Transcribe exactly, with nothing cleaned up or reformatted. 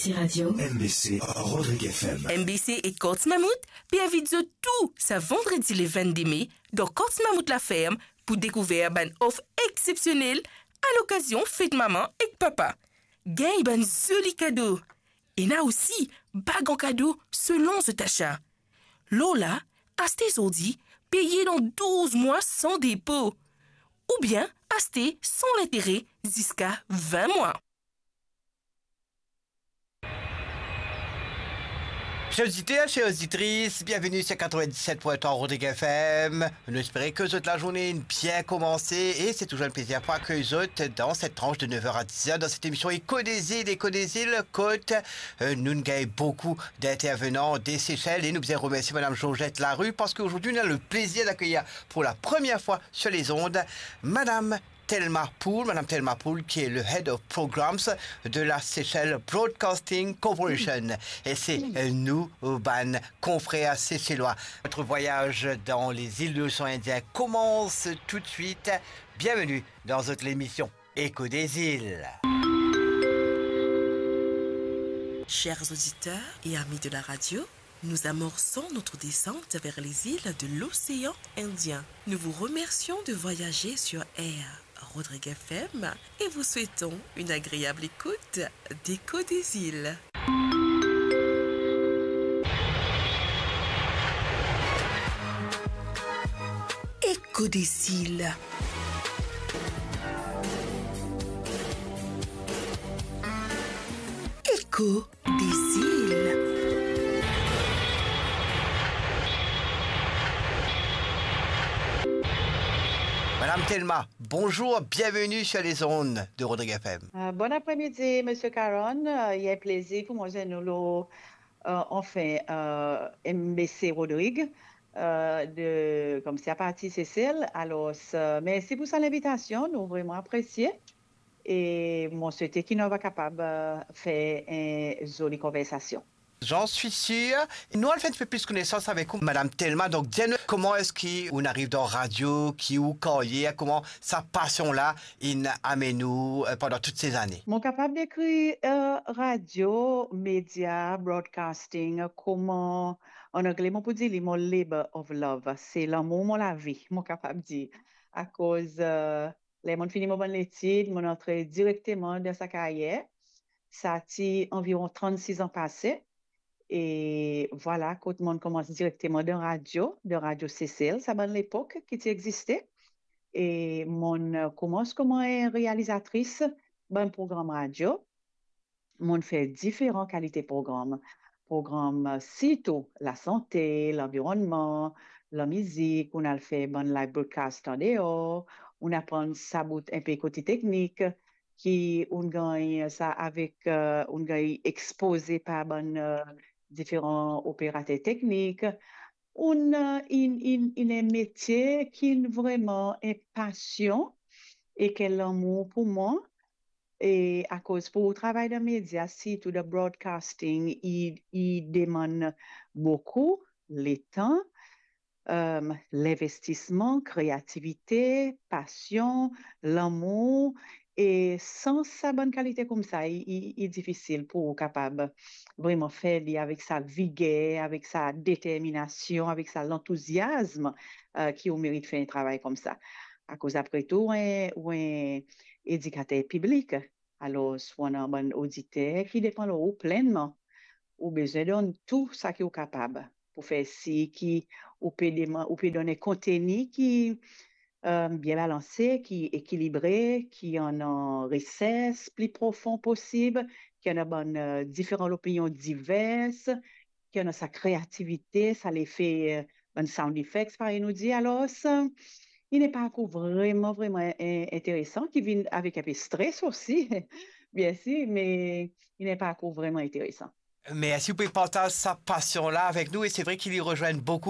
Ti Radio. M B C Rodrigues F M. M B C ek Korti Mammouth pe invit zot tou sa vandredi le vennde me dan Korti Mammouth Laferm pou dekouver bann of exsepsionel a lokazion fet mama ek papa. Gagn bann zoli kado. Ena osi bag an kado selon zot asa. Lor la, aste zordi, peye dan douz mwa san depo, oubien aste san lintere ziska vin mwa. Cher oditer, cher oditris, bienveni sur quatre-vingt-dix-sept point trois Rodrigues F M. Nou espere ke zot lazourne inn bien koumanse e se touzour enn plezir pou akey zot dan set transh de nev er a diz er dan set emision Eko dezil. Eko dezil, kot, euh, nou gagn boukou d'intervenan de Sesel e nou bizin remersie Madam Georgette Larue parski zordi nou ena le plezir d'akeyir pour la première fois sur les ondes Madam Thelma Pool, Madame Thelma Pool, qui est le Head of Programs de la Seychelles Broadcasting Corporation. E se, euh, nou, euh, bann confrères seychellois. Notre voyage dans les îles de l'océan Indien commence tout de suite. Bienvenue dans votre émission Eko dezil. Chers auditeurs et amis de la radio, nous amorçons notre descente vers les îles de l'océan Indien. Nous vous remercions de voyager sur Air Rodrigues F M et vous souhaitons une agréable écoute d'Eko dezil. Eko dezil. Eko dezil. Madame Thelma, bonjour, bienvenue sur les ondes de Rodrigues F M. Euh, bon après-midi, Monsieur Caron. Euh, il est un plaisir pour moi de nous, euh, enfin, euh, M B C Rodrigues, euh, de, comme c'est à partir Seychelles. Alors, euh, merci pour son invitation. Nous vraiment apprécié. E mo swete ki nou va kapav, euh, fer enn zoli konversasion. J'en suis sûr. Nou al fer enn tipe plis konesans avek ou, Madame Thelma. Donk, dir nou, kouma eski ou ariv dan radio, ki ou karyer, kouma sa pasion la inn amenn ou, euh, pandan tout se zane? Mo kapav dekrir, euh, radio, media, broadcasting, kouma, an angle, mo pou dir li mo labor of love. Se lamour mo lavi, mo kapav dir. Akoz, euh, ler mo'nn fini mo bann letid, mo'nn antre direkteman dan sa karyer. Sa ti anviron trannsis an pase. E vwala, kot mo'nn koumans direkteman dan radio, dan Radio Seychelles, sa bann lepok ki ti existe. E mo'nn koumans kouma enn realizatris bann program radio. Mo'nn fer diferan kalite program. Program, sirtou lasante, lanvironnman, lamizik, ou'nn al fer bann live broadcast andeor, ou'nn aprann sa bout enpe kote teknik, ki ou'nn gagn sa avek, euh, ou'nn gagn expoze par bann, euh, diferan operater teknik. Ou'nn, euh, inn, inn, inn enn metie ki'nn vreman enn pasion ek enn lamour pou mwa. E akoz pou travay dan media, sirtou dan broadcasting, li, li demann boukou letan, euh, linvestisman, kreativite, pasion, lamour. E san sa bann kalite koumsa, li, li, li difisil pou ou kapav vreman fer li avek sa viger, avek sa determinasion, avek sa lantouziasm, euh, ki ou merit fer enn travay koumsa. Akoz apre tou, ou enn, ou enn edikater piblik. Alor, ou ena bann oditer ki depann lor ou plennman. Ou bizin donn tou sa ki ou kapav pou fer sir ki ou pe demann, ou pe donn enn konteni ki, euh, bien balanse, ki ekilibre, ki ena resers pli profon posib, ki ena bann, euh, diferan lopinion diver, ki ena sa kreativite, sa lefe, euh, bann sound effects, parey nou dir. Alor, sa, li enn parkour vreman, vreman, eh, interesan, ki vinn avek enpe stres osi, biensir, me li enn parkour vreman interesan. Mersi pou partaz sa pasion la avek nou, e se vre ki li rezwenn boukou